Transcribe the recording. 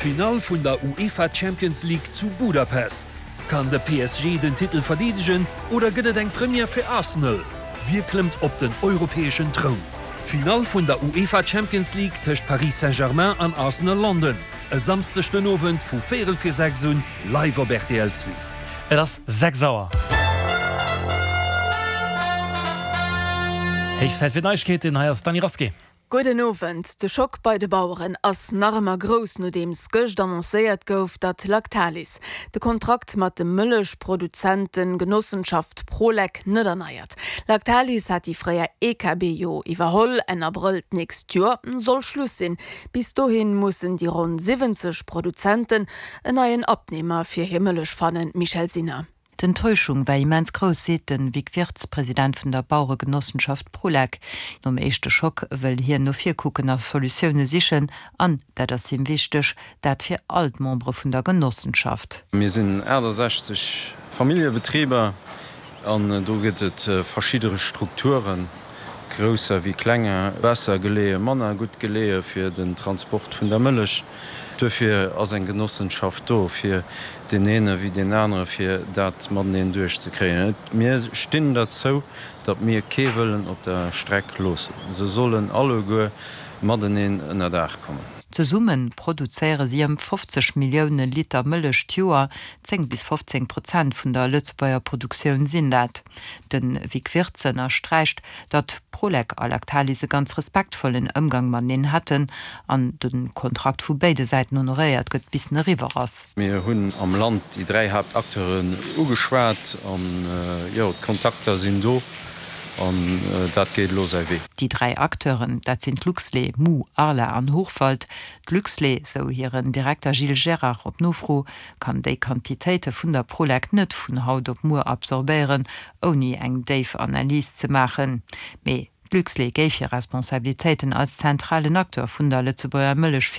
D'Finall vun der UEFA Champions League zu Budapest. Kann de PSG den Titel verdeedegen oder gëtt et eng Première fir Arsenal? Wie klëmmt op den europäeschen Troun? D'Finall vun der UEFA Champions League tëscht Paris Saint-Germain an Arsenal London e Samsdeg den Owend vu véierel vir 6 un live op rtl 2. Et ass 6 Auer. Héich Zäit fir d'Neiegkeeten, hei ass d'Dany Rasqué. Gudden Owend. De Schock bei de Baueren ass nach ëmmer grouss, nodeems gëscht annoncéiert gouf, datt Lactalis de Kontrakt mat de Mëllechproduzenten-Genossenschaft Prolec net erneiert. Lactalis hat déi fréier EKB jo iwwerholl. Enn Abrëll d'nächst Joer soll Schluss sinn. Bis dohin mussen déi ronn 70 Produzenten en neien Abnehmer fir hir Mëllech fannen. Michèle Sinner. D'Enttäuschung war immens grouss, seet de Vic Wirtz, President vun der Baueregenossenschaft Prolec. Nom éischte Schock wëll hien no vir kucken a Solutioune sichen. An, dat ass him wichteg, dat fir all d'Membere vun der Genossenschaft. Mir sinn 68 Familljebetriber an do gëtt et verschidde Strukturen. Grousser wéi klenger, besser geleeë, manner gutt geleeë fir den Transport vun der Mëllech. Duerfir ass eng Genossenschaft do, fir deen eene wéi deen anere fir dat mateneen duerchzekréien. Mir stinn derzou, datt mir kee wëllen op der Streck loossen. Se sollen alleguer mateneen ënner Daach kommen. Zesumme produzéiere si ëm 50 Millioune Liter Mëllech d'Joer, 10 bis 15 Prozent vun der Lëtzebuerger Produktioun sinn dat. De Vic Wirtz ënnersträicht, datt Prolec a Lactalis e ganz respektvollen Ëmgang mateneen hätten an de Kontrakt vu béide Säiten honoréiert gëtt, bis en eriwwer ass. Mir hunn am Land déi 3 Haaptacteuren ugeschwat an, jo, d'Kontakter sinn do an dat geet elo säi Wee. Déi 3 Acteuren, dat sinn d'Luxlait, Mu, Arla an Hochwald. D'Luxlait, sou hiren Direkter Gilles Gerard op Nofro, kann déi Quantitéite vun der Prolec net vun haut op muer absorbéieren, ouni eng déif Analys ze maachen. Mee d'Luxlait géif hir Responsabilitéiten als zentralen Acteur vun der Lëtzebuerger Mëllech.